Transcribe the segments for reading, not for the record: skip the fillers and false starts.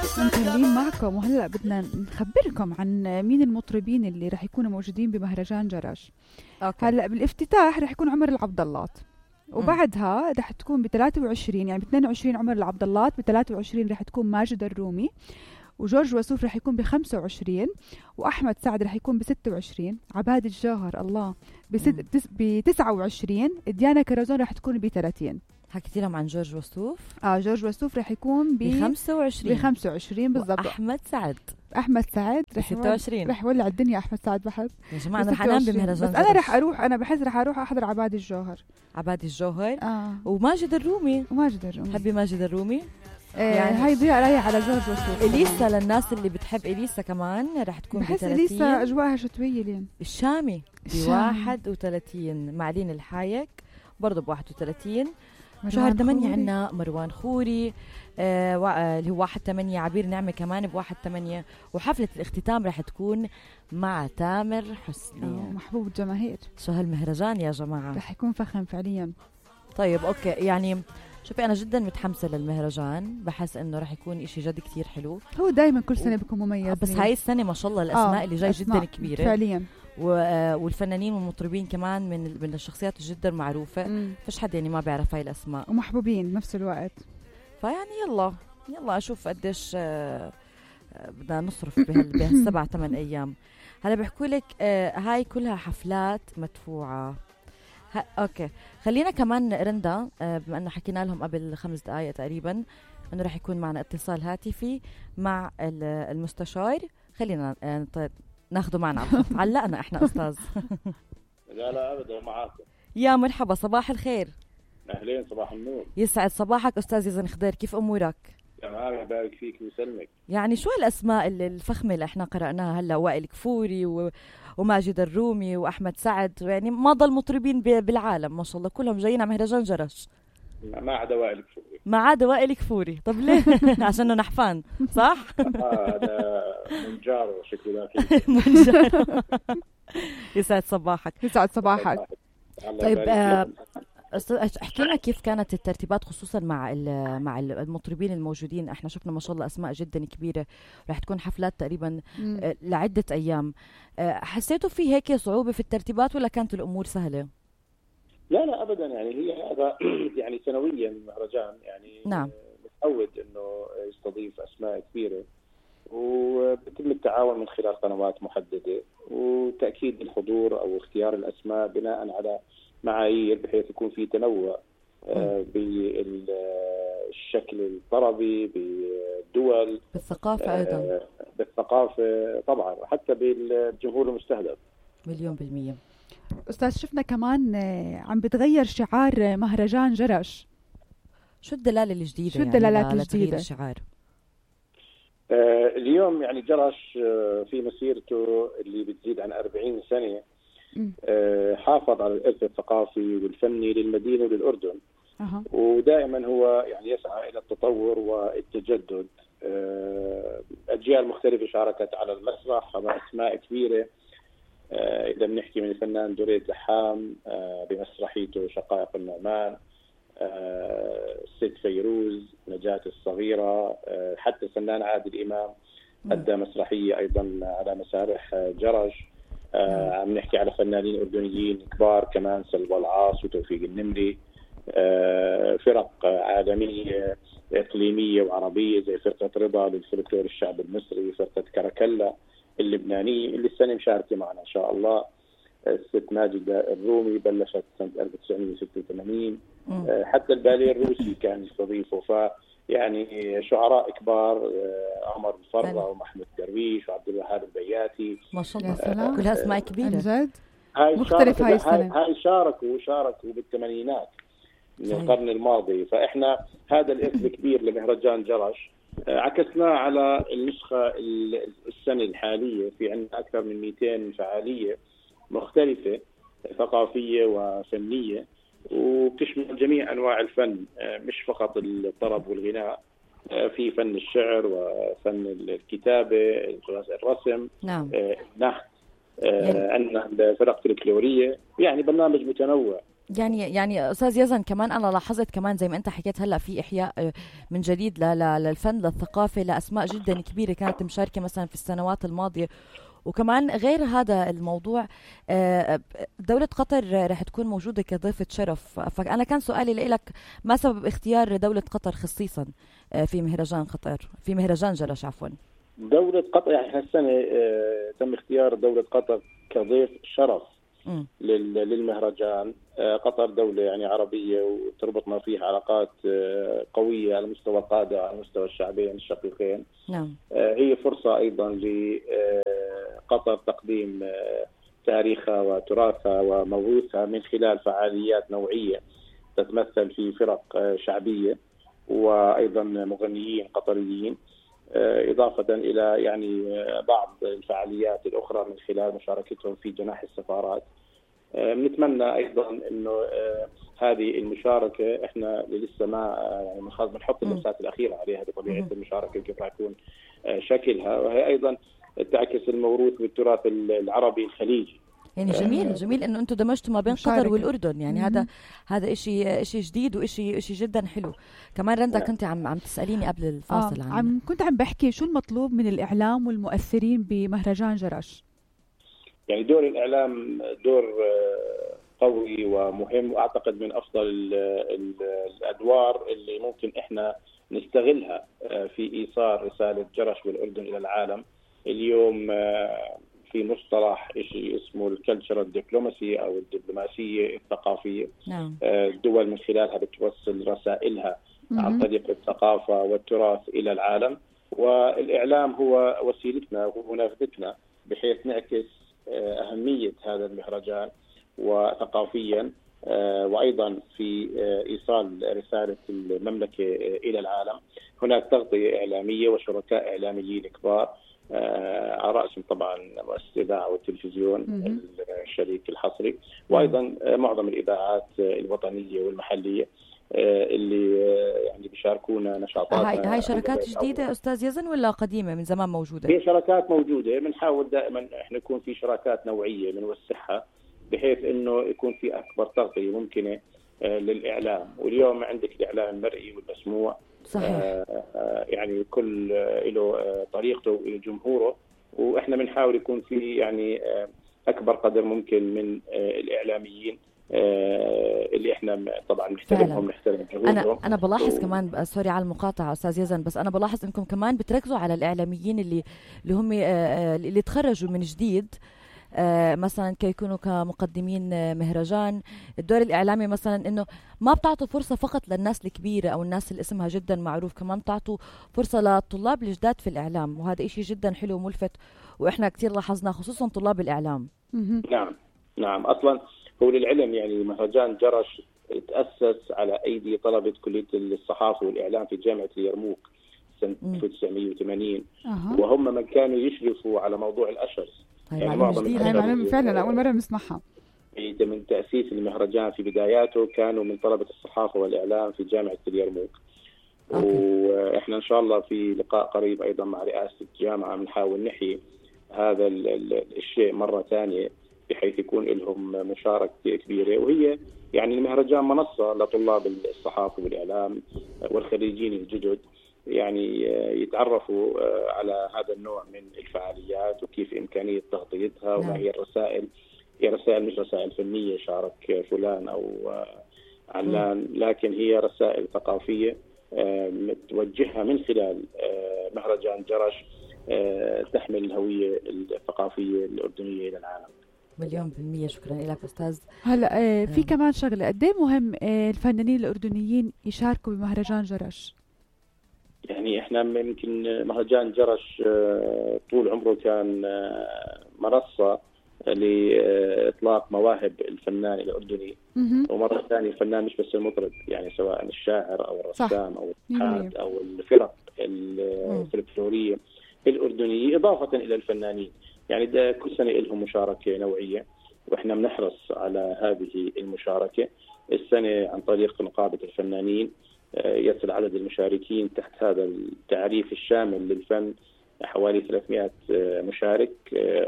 مكملين معكم، وهلأ بدنا نخبركم عن مين المطربين اللي رح يكونوا موجودين بمهرجان جرش. هلأ بالافتتاح رح يكون عمر العبداللات، وبعدها رح تكون ب23 يعني ب22 عمر العبداللات، ب23 رح تكون ماجد الرومي، وجورج وسوف رح يكون ب25، وأحمد سعد رح يكون ب26، عباد الجوهر الله ب29، ديانا كرزون رح تكون ب30. حكيتي لهم عن جورج وسوف؟ جورج وسوف رح يكون ب25 بالضبط. أحمد سعد رح 26 رح يولع الدنيا. أحمد سعد بحب يا جماعة، أنا رح أنام بمهرجان، بس أنا رح أروح، أنا بحس رح أروح أحضر عباد الجوهر. وماجد الرومي. حبي ماجد الرومي. يعني هاي ضياء رايح على جورج وسوف. إليسا للناس اللي بتحب إليسا كمان رح تكون بحس إليسا أجواءها شتوية. لين الشامي ب31، معلين الحايك برضو ب31. شهر 8 عنا مروان خوري اللي هو 1/8، عبير نعمة كمان ب1/8، وحفلة الاختتام رح تكون مع تامر حسني محبوب الجماهير. شو هالمهرجان يا جماعة، رح يكون فخم فعليا. طيب أوكي، يعني شوفي أنا جدا متحمسة للمهرجان، بحس إنه رح يكون إشي جد كتير حلو. هو دايما كل سنة بيكون مميز، بس هاي السنة ما شاء الله الأسماء اللي جاي جدا كبيرة فعليا، والفنانين والمطربين كمان من الشخصيات جدا معروفة. فش حد يعني ما بيعرف هاي الأسماء، ومحبوبين بنفس الوقت. فيعني يلا أشوف قديش بدنا نصرف بهال7-8 أيام. هلا بحكوا لك هاي كلها حفلات مدفوعة. أوكي، خلينا كمان رندا، بما أنه حكينا لهم قبل 5 دقايق تقريبا أنه رح يكون معنا اتصال هاتفي مع المستشار. خلينا ناخده معنا على الخط. علقنا احنا أستاذ. لا أبدا معاكم. يا مرحبا، صباح الخير. أهلين، صباح النور. يسعد صباحك أستاذ يزن خضير، كيف أمورك؟ تمام، يبارك فيك ويسلمك. يعني شو هالأسماء الفخمة اللي احنا قرأناها هلا؟ وائل كفوري وماجد الرومي وأحمد سعد، يعني ما ضل مطربين بالعالم ما شاء الله، كلهم جايين على مهرجان جرش ما عدا وائل ما عدا وائل كفوري. كفوري. طب ليه؟ عشانه نحفان صح؟ هذا منجار شكله ذاك. منجار. يسعد صباحك. طيب احكي لنا كيف كانت الترتيبات، خصوصا مع المطربين الموجودين. احنا شفنا ما شاء الله اسماء جدا كبيره، رح تكون حفلات تقريبا لعده ايام. حسيتوا في هيك صعوبه في الترتيبات ولا كانت الامور سهله؟ لا ابدا، يعني هي هذا يعني سنويا المهرجان يعني نعم متعود انه يستضيف اسماء كبيره، وبيتم التعاون من خلال قنوات محدده، وتاكيد الحضور او اختيار الاسماء بناء على معايير بحيث يكون في تنوع بالشكل الطربي، بالدول، بالثقافة أيضا، بالثقافة طبعا، حتى بالجمهور المستهدف. 1,000,000%. أستاذ شفنا كمان عم بتغير شعار مهرجان جرش. شو الدلالة الجديدة؟ شو الدلالات الجديدة؟ الشعار اليوم يعني جرش في مسيرته اللي بتزيد عن 40 سنة حافظ على الإرث الثقافي والفني للمدينة وللأردن. ودائما هو يعني يسعى إلى التطور والتجدد. أجيال مختلفة شاركت على المسرح، أسماء كبيرة. إذا بنحكي من الفنان دريد زحام بمسرحيته شقائق النعمان، الست فيروز، نجاة الصغيرة، حتى الفنان عادل إمام أدى مسرحية أيضا على مسارح جرش. عم نحكي على فنانين أردنيين كبار كمان، سلوى العاص وتوفيق النمري. فرق عالمية إقليمية وعربية زي فرقة رضا للفلكلور الشعب المصري، فرقة كركلا اللبنانية اللي السنة مشاركة معنا إن شاء الله. الست ماجدة الرومي بلشت سنة 1986. حتى الباليه الروسي كان يستضيفه. فيعني شعراء كبار، عمر الفرة ومحمود درويش وعبد الوهاب البياتي، ما شاء الله كلها اسماء كبيرة جد. مختلف هاي السنة. هاي شاركوا بالثمانينات من القرن الماضي. فإحنا هذا الإرث الكبير لمهرجان جرش عكسناه على النسخة السنة الحالية. في عندنا أكثر من 200 فعالية مختلفة ثقافية وفنية، وبتشمل جميع أنواع الفن، مش فقط الطرب والغناء. في فن الشعر وفن الكتابة، الرسم، النحت، عندنا فرق فلكلورية. يعني برنامج متنوع يعني استاذ يزن كمان انا لاحظت كمان زي ما انت حكيت هلا في احياء من جديد للفن للثقافه لاسماء جدا كبيره كانت مشاركه مثلا في السنوات الماضيه. وكمان غير هذا الموضوع دولة قطر رح تكون موجودة كضيفة شرف. فأنا كان سؤالي لك ما سبب اختيار دولة قطر خصيصا في مهرجان قطر في مهرجان جرش عفوا؟ دولة قطر يعني هالسنة تم اختيار دولة قطر كضيف شرف للمهرجان. قطر دولة يعني عربية وتربطنا فيها علاقات قوية على مستوى القادة وعلى مستوى الشعبين الشقيقين. نعم. هي فرصة أيضا لقطر تقديم تاريخها وتراثها وموروثها من خلال فعاليات نوعية تتمثل في فرق شعبية وأيضا مغنيين قطريين، إضافة إلى يعني بعض الفعاليات الأخرى من خلال مشاركتهم في جناح السفارات. بنتمنى أيضا إنه هذه المشاركة إحنا لسه ما يعني بنحط اللمسات الأخيرة عليها بطبيعة المشاركة كيف راح يكون شكلها، وهي أيضا تعكس الموروث والتراث العربي الخليجي. يعني جميل انه انتم دمجتوا ما بين قطر والاردن، يعني هذا شيء جديد وشيء جدا حلو. كمان رندا كنت عم تساليني قبل الفاصل كنت عم بحكي شو المطلوب من الاعلام والمؤثرين بمهرجان جرش. يعني دور الاعلام دور قوي ومهم، واعتقد من افضل الادوار اللي ممكن احنا نستغلها في ايصال رساله جرش والاردن الى العالم. اليوم في مصطلح شيء اسمه الكلتشرال دبلوماسي او الدبلوماسيه الثقافيه. نعم. الدول من خلالها بتوصل رسائلها عن طريق الثقافه والتراث الى العالم، والاعلام هو وسيلتنا ومنافذتنا بحيث نعكس اهميه هذا المهرجان وثقافيا وايضا في ايصال رساله المملكه الى العالم. هناك تغطيه اعلاميه وشركاء اعلاميين كبار على رأسهم طبعا مؤسسة الإذاعة والتلفزيون الشريك الحصري، وأيضا معظم الإذاعات الوطنية والمحلية اللي يعني بيشاركونا نشاطات. هاي شركات جديدة أستاذ يزن ولا قديمة من زمان موجودة؟ هي شركات موجودة، بنحاول دائما احنا يكون في شراكات نوعية بنوسعها بحيث انه يكون في أكبر تغطية ممكنة للإعلام. واليوم عندك الإعلام المرئي والمسموع. صحيح. يعني كل له طريقته وجمهوره، واحنا بنحاول يكون في يعني اكبر قدر ممكن من الاعلاميين اللي احنا طبعا نحترمهم نحترم جهودهم. انا بلاحظ كمان سوري على المقاطعه استاذ يزن، بس انا بلاحظ انكم كمان بتركزوا على الاعلاميين اللي هم اللي تخرجوا من جديد مثلا كيكونوا كمقدمين مهرجان. الدور الإعلامي مثلا إنه ما بتعطوا فرصة فقط للناس الكبيرة أو الناس اللي اسمها جدا معروف، كمان بتعطوا فرصة للطلاب الجداد في الإعلام، وهذا إشي جدا حلو وملفت وإحنا كتير لاحظنا خصوصا طلاب الإعلام. نعم أصلا هو للعلم يعني مهرجان جرش تأسس على أيدي طلبة كلية الصحافة والإعلام في جامعة اليرموك سنة 1980 وهم من كانوا يشرفوا على موضوع الأشرز. يعني معلومة فعلا أول مرة نسمعها. من تأسيس المهرجان في بداياته كانوا من طلبة الصحافة والإعلام في جامعة اليرموك. وإحنا إن شاء الله في لقاء قريب أيضا مع رئاسة الجامعة بنحاول نحيي هذا الشيء مرة ثانية بحيث يكون لهم مشاركة كبيرة. وهي يعني المهرجان منصة لطلاب الصحافة والإعلام والخريجين الجدد يعني يتعرفوا على هذا النوع من الفعاليات وكيف إمكانية تغطيتها وما هي الرسائل. هي رسائل مش رسائل فنية شارك فلان أو علان، لكن هي رسائل ثقافية متوجهة من خلال مهرجان جرش تحمل الهوية الثقافية الأردنية إلى العالم. 100% شكرا لك أستاذ. هلا في كمان شغلة قد ايه مهم الفنانين الأردنيين يشاركوا بمهرجان جرش؟ يعني احنا يمكن مهرجان جرش طول عمره كان منصة لإطلاق مواهب الفنان الأردني، ومرة ثانية الفنان مش بس المطرب، يعني سواء الشاعر أو الرسام أو الحاد أو الفرق الفلكلورية الأردنية إضافة إلى الفنانين. يعني ده كل سنة لهم مشاركة نوعية وإحنا بنحرص على هذه المشاركة. السنة عن طريق نقابة الفنانين يصل عدد المشاركين تحت هذا التعريف الشامل للفن حوالي 300 مشارك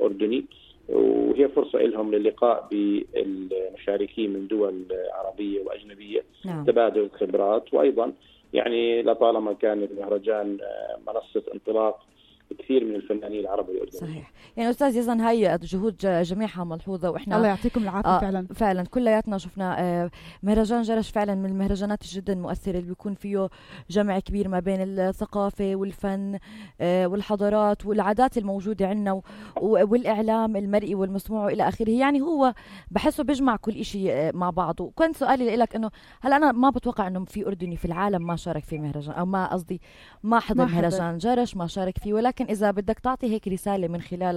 أردني. وهي فرصة لهم للقاء بالمشاركين من دول عربية وأجنبية. نعم. تبادل خبرات، وأيضا يعني لطالما كان المهرجان منصة انطلاق كثير من الفنانين العرب والأردنيين. صحيح. يعني أستاذ يزن هاي جهود جميعها ملحوظة، وإحنا الله يعطيكم العافية. فعلا كلياتنا شفنا مهرجان جرش فعلا من المهرجانات جدا مؤثرة، اللي بيكون فيه جمع كبير ما بين الثقافة والفن والحضارات والعادات الموجودة عندنا والإعلام المرئي والمسموع وإلى آخره. يعني هو بحسه بيجمع كل إشي مع بعضه. كنت سؤالي لك إنه هل أنا ما بتوقع إنه في أردني في العالم ما شارك في مهرجان، أو ما قصدي ما حضر مهرجان جرش ما شارك فيه، ولكن إذا بدك تعطي هيك رسالة من خلالك